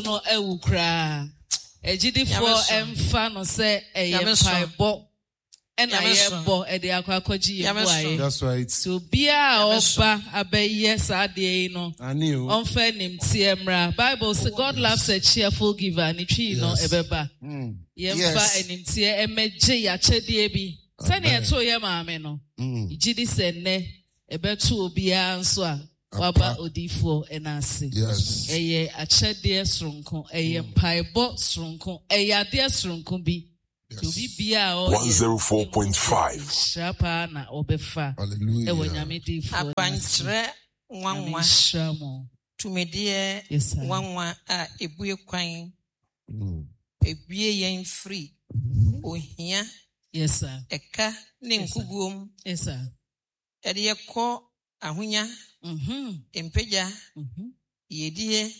No awu koraa. Agyidifoɔ mfa no sɛ ɛyɛ mpaebɔ ɛna yɛbɔ ɛde akɔ akɔgye yɛn mmuaeɛ. Nti obiara a ɔba abɛyɛ saa adeɛ yi no, ɔmfa animteɛ mmra. Bible se God loves a cheerful giver, ne twii no ɛbɛba. Yɛmfa animteɛ mmɛgye yɛakyɛdeɛ bi. Sɛnea ɛtoo yɛ maame no, gye di sɛ nnɛ Ɛbɛto obiara nso a waba odiyifoɔ no ase. Ɛyɛ akyɛdeɛ soronko, ɛyɛ mpaebɔ soronko, ɛyɛ adeɛ soronko bi. Nti obi biara a ɔyɛ no, ɛhu sɛ nhyira paa na ɔbɛfa ɛwɔ Nyame diyifoɔ no ase. Akwankyerɛ Nyame nwanwa, nhyira mo. Tumideɛ Yes sir. nwanwa a ɛbue kwan, ɛbue yɛn firi ohia, Yes sir. ɛka ne Yes sir. nkuguo mu. Yes sir. Ɛde yɛ kɔ ahonya, mpagya, yiedie,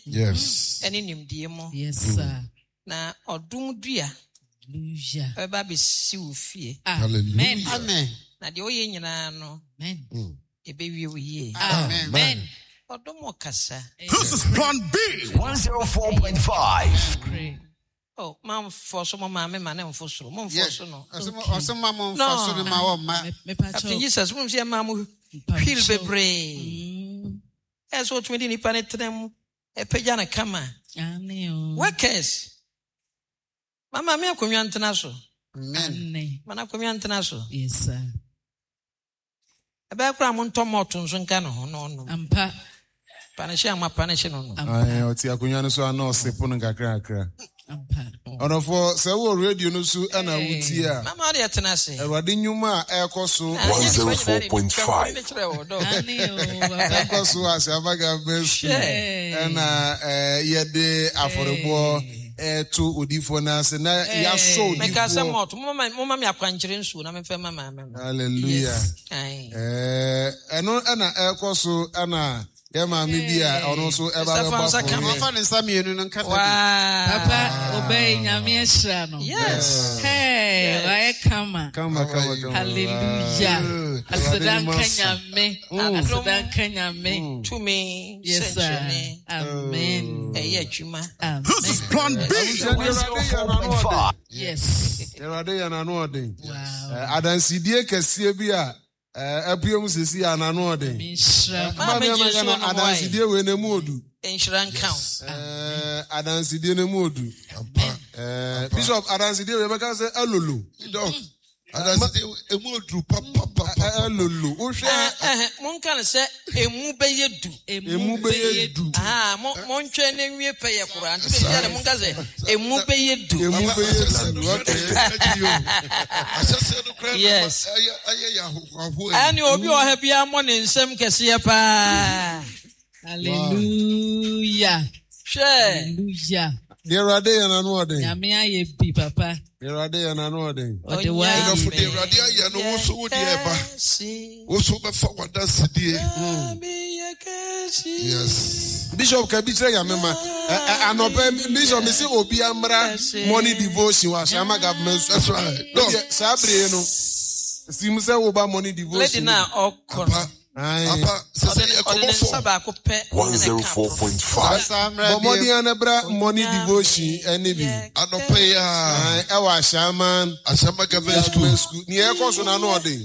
ɛne nimdie mu. Yes, sir. Na ɔdom dua Hallelujah. ɛbɛba abɛsi wo fie. Amen. Amen. Na deɛ woyɛ nyinaa no, Amen. ɛbɛwie wo yie. Amen. Ɔdom ɔkasa. This is Plan B 104.5. Pray. Oh, mamfɔ so mo maame ma ne mfo soro. Momfɔ so no. Ɔsɛ ma mo mfa so no ma wɔ mma. Captain Jesus, mo sɛ ma mo wheel bebree. Ɛ sɛ otumi de nipa ne tena mu, ɛpagya ne kama. Workers. Ma maame akonnwa ntena so. Amen. Ma n'akonnwa ntena so. Yes, sir. Ɛbɛyɛ koraa montɔ malt nso nka ne ho na ɔnom. Ampa. Panehye ama panehye no no. Ampa. Ae, ɔte akonnwa no so a na ɔse pono nkakrakra. Ampa. Ɔdɔfoɔ, sɛ wowɔ radio no so na wotie a, Mama ɔde ɛtena ase. Awurade nnwuma a ɛrekɔ so 104.5. Ane o, papa. ɛkɔ so wɔ Asiama Government School Hwɛ. ɛna yɛde afɔrebɔ ɛreto odiyifoɔ no ase na yɛasɔ Meka sɛ odiyifoɔ. malt, momma me akwankyerɛ nsuo na memfa mma maame no. Hallelujah. Yes. Ae. Ɛno ɛna ɛrekɔ so ɛna yɛ maame bi a ɔno nso ɛba Sister bɛbɔ Fansa ka afɔreɛ. me. Ɔmfa ne nsa mmienu no nkata bi. Wow. Papa, obey Nyame ahyira no. Yes. Hey, wayɛ kama. Kama kama kama. Hallelujah. Good. Aseda Awurade nka nnwuma so. Nyame. Aseda nka Nyame. Tumi Yes, sir. sɛnkyerɛnne Amen. ɛyɛ adwuma. Amen. This is Plan B. Abusua deɛ Awurade yɛ n'ano ɔden. Yes. Awurade yɛ n'ano ɔden. Wow. Adansidie kɛseɛ bi a apue mu sisi yɛ n'ano ɔden. Nyame nhyira mo. Maame Maame gye ama nsuo Ghana nom wae. adansidie wei na emu odu. Nhyira nka wo. Adansidie na emu odu. Bishop adansidie wei bɛka sɛ alolo. Doc, adansidie emu oduru papapapa. Alolo. Wohwɛ. Monka no sɛ emu bɛyɛ du. Emu bɛyɛ du. Montwɛn na nwie pɛyɛ koraa. Nti bɛyɛ dɛ monka sɛ emu bɛyɛ du. Emu bɛyɛ du. Okay. Ahyɛseɛ no koraa Yes. ɛyɛ yɛ ahohoahoa. Ɛne obi wɔ ha biara mmɔ ne nsɛm kɛseɛ paa. Hallelujah. Hwɛ. Hallelujah. Deɛ Awurade yɛ n'ano ɔden. Nyame ayɛ bi papa. Deɛ Awurade yɛ n'ano ɔden. Ɔde wayɛ Ɛdɔfo deɛ Awurade ayɛ no wo so wo deɛ ɛba. Wo so bɛfa w'adansedie. Yes. Bishop ka bi kyerɛ Nyame ma. Anɔpɛ Bishop me se obi amra morning devotion wɔ Ashama government school. That's right. Deɛ saa bere no sim sɛ woba morning devotion. Lady na ɔkɔ no. Apa sɛ sɛ yɛ Ɔde ne kɔbɔ nsa fɔ. baako pɛ ɛna ɛka 104.5. Saa mmerɛ Bɔ mmɔden ara na bra morning devotion ɛne bi. Anɔpɛ yi a. Ɛwɔ Ashama Ashama government school. government school. Nea ɛkɔ so n'ano ɔden.